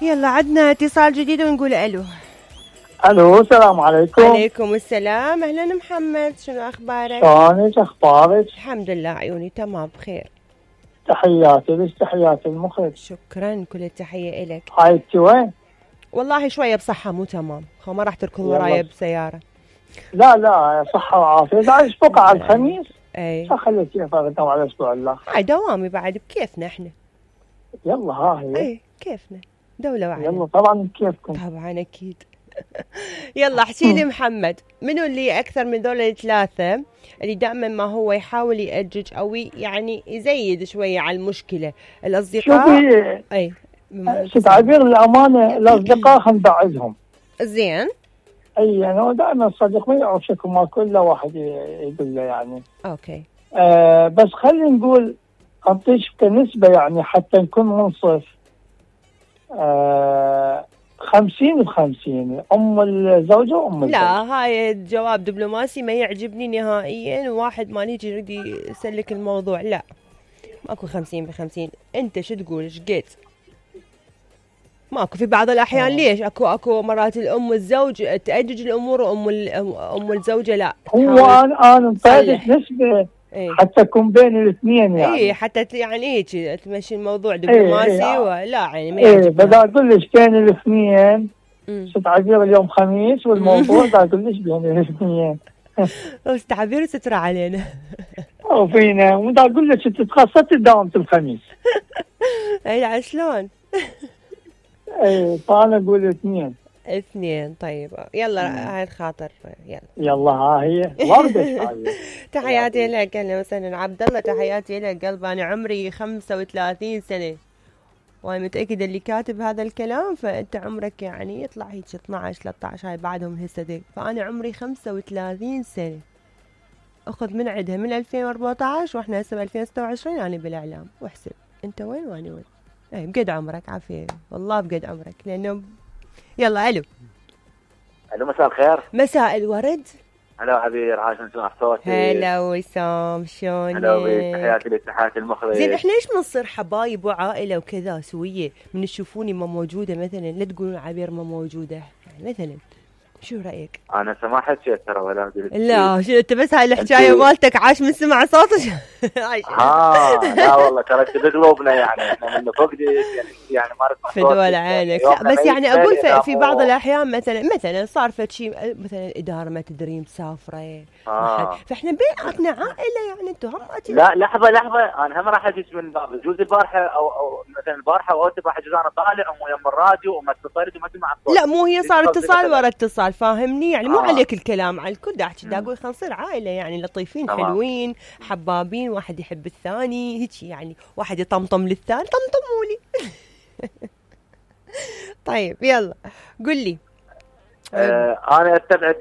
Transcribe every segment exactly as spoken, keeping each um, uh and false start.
يلا عدنا اتصال جديد ونقول الو. الو السلام عليكم. عليكم السلام، اهلا محمد، شنو اخبارك؟ شلونك اخبارك؟ الحمد لله عيوني تمام بخير. تحياتي لك، تحياتي المخرج. شكرا، كل التحيه الك. هاي انت وين؟ والله شويه بصحه مو تمام، خو ما راح تركض ورايا بسياره. لا لا صحه وعافيه. تعال بقى على الخميس. اي خليك كيف اقدم على الاسبوع الاخر. هاي دوامي بعد بكيفنا احنا. يلا ها هي. اي كيفنا دوله واحده. يلا طبعا بكيفكم. طبعا اكيد. يلا احكي لي محمد، منو اللي اكثر من ذول الثلاثه اللي دائما ما هو يحاول يأجج او يعني يزيد شويه على المشكله؟ الاصدقاء. شوفي اي تعبير الامانه، الاصدقاء خلينا نبعدهم. زين. اي يعني دائما الصديق ما يعرف شكو ما كل واحد يقول له يعني. اوكي. آه بس خلينا نقول اعطيك كنسبه يعني حتى نكون منصف. آه خمسين بخمسين، ام الزوجه وام الزوج. لا هاي جواب دبلوماسي ما يعجبني نهائيا، واحد ما نيجي يريد يسلك الموضوع. لا ماكو خمسين بخمسين. انت شو تقول؟ ايش قلت؟ ماكو في بعض الاحيان. أوه. ليش اكو اكو مرات الام والزوج تأجج الامور وام ام الزوجه لا. هو انا انا مطيلك نسبه. ايه؟ حتى يكون بين الاثنين يعني. اي حتى يعني هيك تمشي الموضوع دبلوماسي. ايه ايه ولا يعني ما يعجبني. ايه بدي اقول لك بين الاثنين. ست تعبير اليوم خميس والموضوع بدي اقول لك بين الاثنين. بس تعبير سترى علينا. او فينا بدي اقول لك انت تخصصتي دوامة الخميس. اي شلون؟ ايه فانا اقول اثنين. اثنين. طيب يلا هاي الخاطر. يلا يلا ها هي وردة. تحياتي لك. اهلا وسهلا عبد الله، تحياتي لك قلب. انا عمري خمسة وثلاثين سنه وانا متاكده اللي كاتب هذا الكلام فانت عمرك يعني يطلع هيك اثنعش ثلاثة عشر هاي بعدهم هسه. فانا عمري خمسة وثلاثين سنه، اخذ من عندها من ألفين وأربعة عشر واحنا هسه ب ألفين وستة وعشرين. انا بالاعلام واحسب انت وين وانا وين. اي بقد عمرك عافيه والله بقد عمرك. لانه يلا الو. الو مساء الخير. مساء الورد. هلا عبير، عايشين سمع صوتي. هلا وسام، شلونك؟ هلا بك، تحياتي لك، تحياتي المخرج. زين احنا ليش بنصير حبايب وعائله وكذا سويه من تشوفوني ما موجوده مثلا لا تقولون عبير ما موجوده يعني مثلا؟ شو رايك؟ انا ما حكيت ترى ولا لا شو انت بس هاي الحكايه مالتك عاش من سمع صوتك. ها لا والله ترى بقلوبنا يعني احنا من فوق يعني يعني ما نسمع في دول عينك. لا بس يعني اقول في, في بعض الاحيان مثلا مثلا صار فد شيء مثلا الاداره ما تدري مسافره آه. فاحنا بيناتنا عائله يعني انتم هم. لا لحظه لحظه انا هم راح اجيك من باب جوز البارحه او او مثلا البارحه او البارحه جوز انا طالع ويم الراديو وما اتصلت وما سمع الصوت. لا مو هي صار اتصال ورا اتصال فاهمني يعني. مو آه. عليك الكلام على الكل. دا احكي دا اقول خلينا نصير عائله يعني لطيفين. طبعا. حلوين حبابين، واحد يحب الثاني هيك يعني، واحد يطمطم للثاني. طمطموا لي. طيب يلا قل لي. آه انا استبعد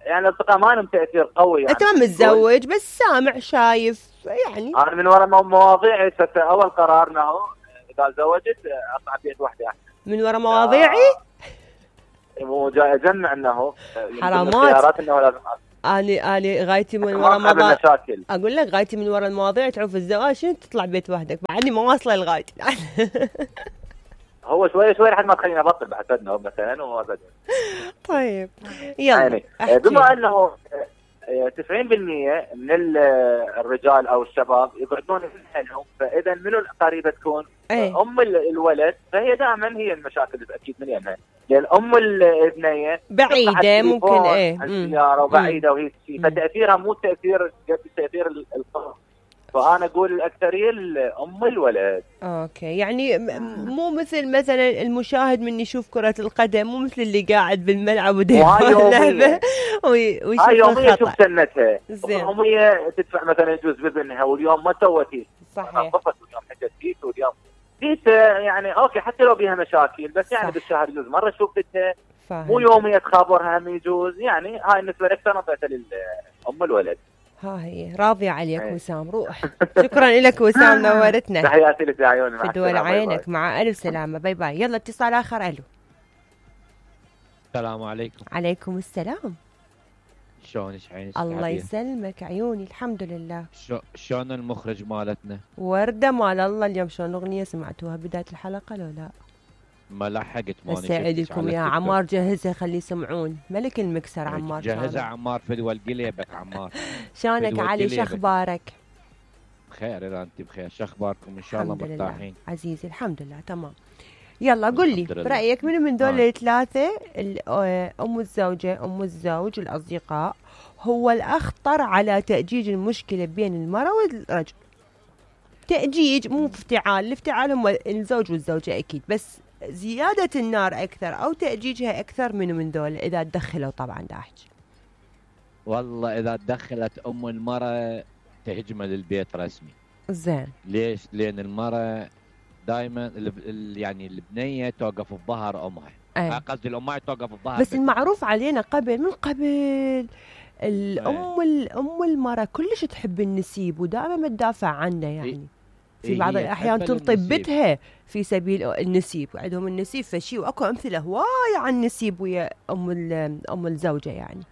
يعني الاصدقاء ما لهم تاثير قوي يعني. انت ما متزوج بس سامع شايف يعني. انا من وراء مواضيعي اول قرار انه اذا تزوجت اطلع بيت وحده احسن. من وراء مواضيعي؟ مو اجمع انه حرامات. خيارات انه لازم اني اني غايتي من وراء مواضيع. اقول لك غايتي من وراء المواضيع تعوف الزواج شنو تطلع بيت وحدك بعدني ما واصله لغايتي. هو شوي شوي لحد ما تخليني ابطل بعد فدنا مثلا وابدا. طيب يلا يعني بما انه تسعين بالمئة من الرجال او الشباب يقعدون في اهلهم، فاذا منو القريبه تكون؟ أيه؟ ام الولد، فهي دائما هي المشاكل اكيد من يمها، لان ام الابنيه بعيده ممكن ايه السياره وبعيده وهي شيء، فتاثيرها مو تاثير قد تاثير القرب. فانا اقول الاكثريه ام الولد. اوكي يعني مو مثل مثلا المشاهد من يشوف كره القدم، مو مثل اللي قاعد بالملعب ودايم اللعبه ويشوف هاي يوميه تشوف سنتها. زين يوميه تدفع مثلا يجوز بابنها واليوم ما سوت. صحيح. طفت واليوم حجت ديت واليوم ديت يعني اوكي حتى لو بيها مشاكل بس يعني بالشهر يجوز مره شوفتها. مو يوميه تخابرها هم يجوز يعني. هاي بالنسبه لك نظرتها لام الولد. ها هي راضية عليك وسام. روح. شكرا لك وسام نورتنا. تحياتي لك يا عيوني. في دول عينك. مع ألف سلامة. باي باي. يلا اتصال آخر. ألو. السلام عليكم. عليكم السلام. شلونك عينك؟ الله يسلمك عيوني الحمد لله. شلون المخرج مالتنا؟ وردة مال الله. اليوم شلون الأغنية سمعتوها بداية الحلقة لو لا؟ ما لحقت ما هسه عيدكم يا عمار جهزها خليه يسمعون ملك المكسر عمار جهزها عمار فدوى القليبك عمار. شلونك علي شو اخبارك؟ بخير اذا انت بخير، شو اخباركم؟ ان شاء الله مرتاحين عزيزي الحمد لله تمام. يلا قل لي برايك من من دول آه. الثلاثه ام الزوجه ام الزوج الاصدقاء هو الاخطر على تاجيج المشكله بين المراه والرجل؟ تاجيج مو افتعال، الافتعال هم الزوج والزوجه اكيد، بس زياده النار اكثر او تاجيجها اكثر من من دول اذا تدخلوا طبعا داحج. والله اذا تدخلت ام المراه تهجمه للبيت رسمي. زين. ليش؟ لان المراه دائما يعني البنيه توقف بظهر امها. أيه. قصدي الامها توقف بظهر بس المعروف علينا قبل من قبل الام الام المراه كلش تحب النسيب ودائما ما تدافع عنه، يعني في بعض الاحيان تنطي بتها في سبيل النسيب، عندهم النسيب فشي، واكو امثله هواي عن النسيب ويا ام ام الزوجه يعني.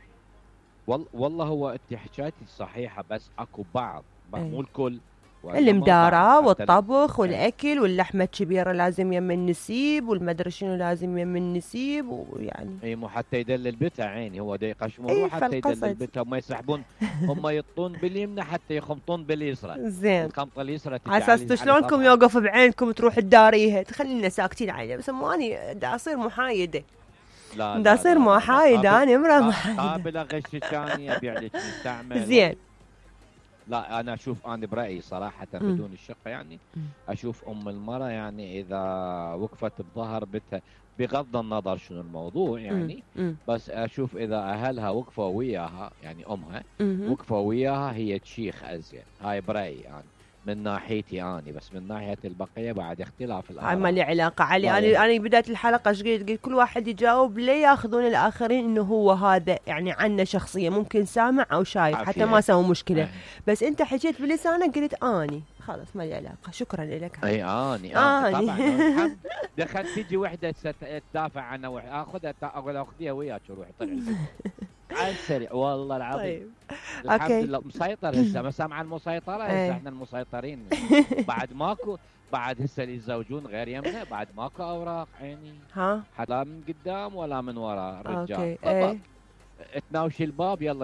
والله هو انت حكايتي صحيحه، بس اكو بعض مو الكل المدارة والطبخ والاكل واللحمه الكبيره لازم يم النسيب والمدري شنو لازم يم النسيب، ويعني اي مو حتى يدلل بيتها عيني، هو دا يقشمون حتى يدلل بيتها، هم يسحبون هم يطون باليمنى حتى يخمطون باليسرى. زين. الخمطه اليسرى على اساس شلونكم يوقف بعينكم تروح تداريها، تخلينا ساكتين عليها، بس اني دا اصير محايده. لا دا اصير محايده، انا امراه محايده قابله غشك ثاني ابيع لك مستعمل. زين. لا انا اشوف انا برايي صراحه م. بدون الشقه يعني م. اشوف ام المراه يعني اذا وقفت بظهر بيتها بغض النظر شنو الموضوع يعني م. م. بس اشوف اذا اهلها وقفوا وياها يعني امها م. وقفوا وياها هي تشيخ ازين. هاي برايي يعني من ناحيتي اني، بس من ناحيه البقيه بعد اختلاف الاراء. هاي ما لي علاقه علي. انا انا بدايه الحلقه ايش قلت؟ قلت كل واحد يجاوب ليه ياخذون الاخرين انه هو هذا يعني عنه شخصيه، ممكن سامع او شايف عافية. حتى ما سووا مشكله أه. بس انت حكيت بلسانك قلت اني خلاص ما لي علاقه. شكرا لك. اي اني اني طبعا دخلت تجي وحده تدافع عنها اخذها اقول اخذيها وياك روحي طلعي على السريع والله العظيم. طيب الحمد لله مسيطر هسه، ما سامع المسيطره هسه احنا المسيطرين بعد ماكو، بعد هسه اللي يتزوجون غير يمنا بعد ماكو اوراق عيني ها لا من قدام ولا من وراء الرجال. اوكي ايه. تناوشي الباب يلا